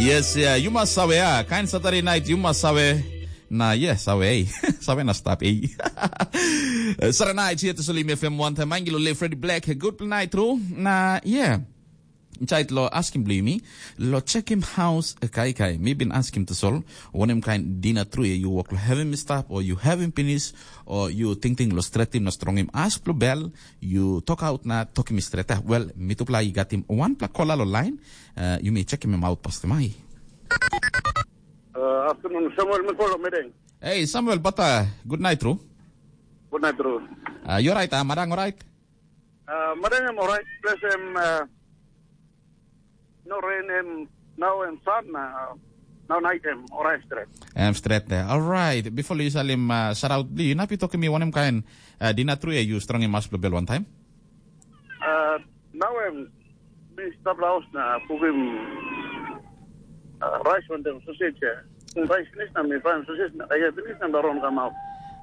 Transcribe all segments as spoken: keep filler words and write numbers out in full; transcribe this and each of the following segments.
Yes, yeah, you must sawe, ah. Kain Saturday night, you must sawe. Na, yeah, sawe, eh. Sawe na stap, eh. Saturday night, here to Sulim F M one time. Angelo Le Freddy Black, good night, tru. Na, yeah. Inside lo askim bli mi, lo check him house, eh, kai kai. Mi bin askim to sol, wanem kain dina tru, eh, you walk lo heaven mi stap, or you heaven finish, or you ting ting lo stretim na strongim as blo bel, you talk out na talk mi straight up. Well, mi tupla i gatim one pla kola lo line, uh, you may check him out past mai. Uh, afternoon, Samuel Mikolo Medeng. Hey, Samuel Bata, good night, tru. Good night, tru. Uh, you right, uh, madang, right? Uh, Madeng, I'm all right. Plus, I'm, uh, no rain, I'm, now I'm sun, uh, now night, I'm all right, straight. I'm straight there. All right. Before you salim, uh, shout out, you napi talking me one kind, uh, dina tru, eh, you strong in mas bel one time? Uh, now I'm, mi stap laos na, kukim, uh, rice on them, sausage, uh, rice finish na, mi find sausage na, I get finish na, baron come out.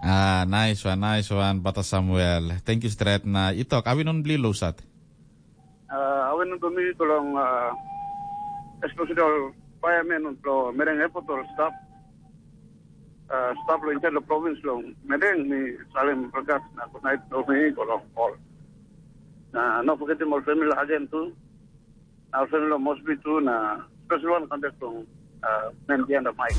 Ah, nice one, nice one, Bata Samuel. Thank you, straight na. Itok, awi non bli lo sat? Uh, awi non bli mi tolong, uh, especially all firemen on lo Mereng Airport or staff. Uh, staff lo inside lo province lo Mereng mi salim regards na good night lo mi tolong all. Na no forget him all family again too. Our family lo Mosby too na special one contact lo, uh, man behind the mic.